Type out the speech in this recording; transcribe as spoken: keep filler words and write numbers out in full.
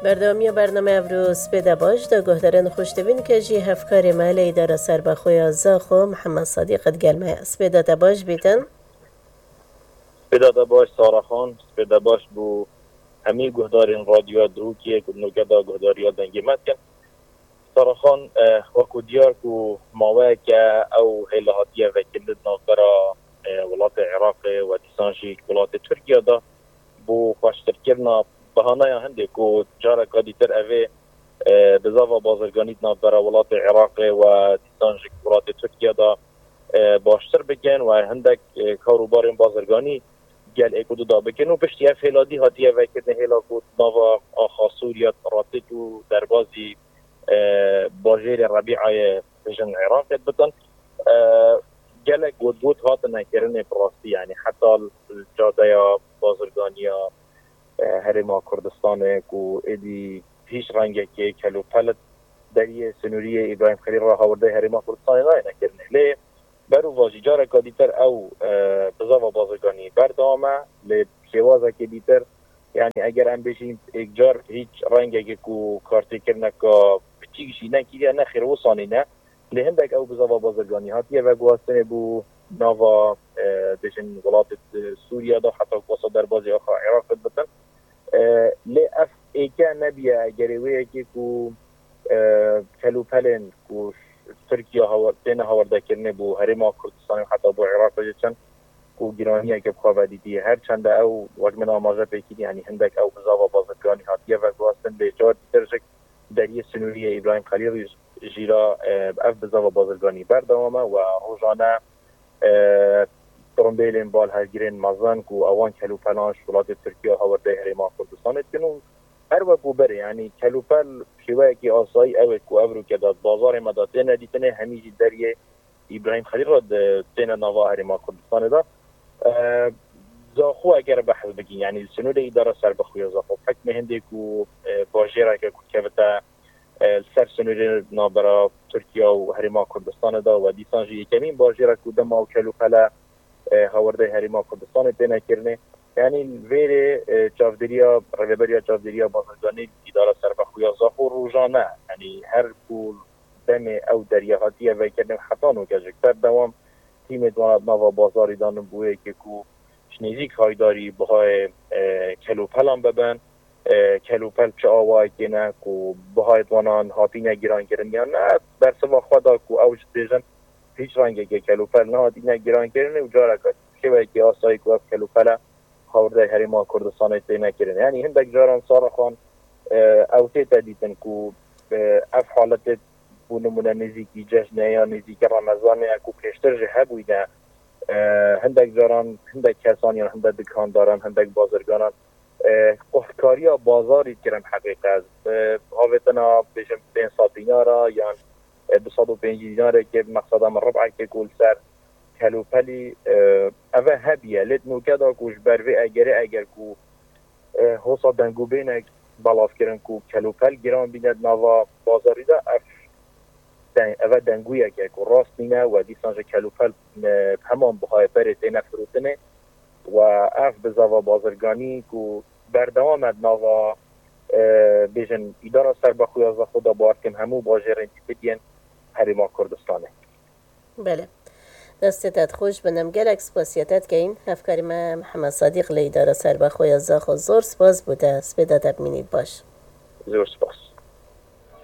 Berdewamiya bername evro spêde baş de guhdarên xweşdivîn ke jî hevkarê me li Îdara Serbexwe ya Zaxo Mihemed Sadîq digel me. Spêde te baş bîtin. Spêda te baş Sara Xan, spêda baş bû hemî guhdarên Radyoya Duhokê ku nokeda guhdariya dengê me dikin. Sara Xan, eh, wekû diyar ku maweyeke ew hêla hatiye vekirin di navbera, eh, welatê Iraqê we dîsan jî welatê Tirkiye de bo xweştirkirina bahanaya hindê ku careka dîtir evê, eh, bizava bazirganî di navbera welatê Iraqê we dîsan jî welatê Tirkiye de, eh, baştir bikin we hindek, eh, kar û barên bazirganî gel ê ku dida bikin û piştî ev hêla dî hatiye vekirinê hêla ku nava axa Sûriye Ratît û derbazî, e, bajêrê Rebîayê bijin Iraqê bitin. E, gelek gotgot hatine kirinê bi rastî, yanî heta li cadeya bazirganiya, e, Herêma Kurdistanê ku êdî hîç rengekê kelûpel deriyê sinûriyê Îbrahîm Xelîl re hawirdeyê Herêma Kurdistanê nayêne kirinê. Lê Berûva jî careka dîtir ew, e, bizava bazirganî berdewam e, lê şêwazekê dîtir, yanî eger em bêjin êkcar hîç rengekê ku kartêkirineka biçîk jî nekiriye, nexêr wisa nîne. Lê hindek ew bizava bazirganî hatiye veguhastinê bo nava, e, bêjin welatê, e, Sûriye de, heta ku wisa derbazî axa Iraqê bitin. E, lê ev êke nebiye gerê wê yekê ku, e, kelûpelên ku Tirkiye hawa-, têne hawardekirinê bo Herêma Kurdistanê û heta bo Iraqê jî çend ku giraniyeke bi xwe vedîtiye. Her çende ew, wek min amaje pê kiriye, yanî hindek ew bizava bazirganî hatiye veguhastin, lê car dîtir jî deriyê sinûriyê Îbrahîm Xelîl jî re, e, ev bizava bazirganî berdewam e we rojane, e, tirimbêlên balhevgirên mezin ku ewan kelûpelan ji welatê Tirkiye hawirdeyê Herêma Kurdistanê dikin û her wekû berê, yanî kelûpel şêweyekî asayî ew ê ku ev rûke de di bazarê me de têne dîtinê, hemî jî deriyê Îbrahîm Xelîl re di, têne nava Herêma Kurdistanê de. E, Zaxo eger behs bikin, yanî li sinûrê Îdara Serbixwe ya Zaxo, bi hikmê hindê ku, e, bajêreke ku kevite, e, li ser sinûrê navbera Tirkiye û Herêma Kurdistanê de we dîsan jî yekemîn bajêr e ku dema ew kelûpele, e, hawirdeyê Herêma Kurdistanê têne kirinê. Yanî li vêrê, e, çavdêriya, rêveberiya çavdêriya bazirganî Îdara Serbixwe ya Zaxo rojane, yanî her ku demê ew deriya hatiye vekirin heta noke jî berdewam tîmê di wana di nava bazarî de ne bo yekê ku ji nêzîk haydarî bihayê, e, kelûpelan bibin. E, kelûpel çi awayekê ne ku bihayê di wanan hatîne girankirin yan ne, bersiva xwe da ku ew jî dibêjin hîç rengekê kelûpel nehatîne girankirinê û careke şêweyekî asayî ku ev kelûpele hawirdeyê Herêma Kurdistanê têne kirin. Yanî hindek caran Sara Xan, e, ew tête dîtin ku, e, ev haletê bo nimûne nêzîkî cejnê ya nêzîkî Remezanê ye ku pêştir jî hebûyne, e, hindek caran hindek kesan yan hindek dikandaran, hindek bazirganan, e, quhtkariya bazarî kirin heqîqet. E, avêtina bêjin pênc sed dînara yan, e, du sed û pêncî dînarekê, bi mexseda min ribekê ku li ser kelûpelî, e, eve hebiye. Lê di nûke de ku ji ber vê egerê, eger ku, e, hosa dengûbênek belav kirin ku kelûpel giran bîne di nava bazarî de, ev den-, eve dengûyeke ku rast nîne we dîsan ji kelûpel, e, heman bihayê berê têne firotinê we ev bizava bazirganî ku berdewam e di nava, e, bêjin Îdara Serbexwe ya Zaxo de, bawer dikim hemû bajêrên dîtir yên Herêma Kurdistanê. Belê. Destê te xweş bin, em gelek spasiya te dikeyin. Hevkarê me Mihemed Sadîq li Îdara Serbexwe ya Zaxo, zor spas bo te. Spêda te bimînît baş. Zor spas.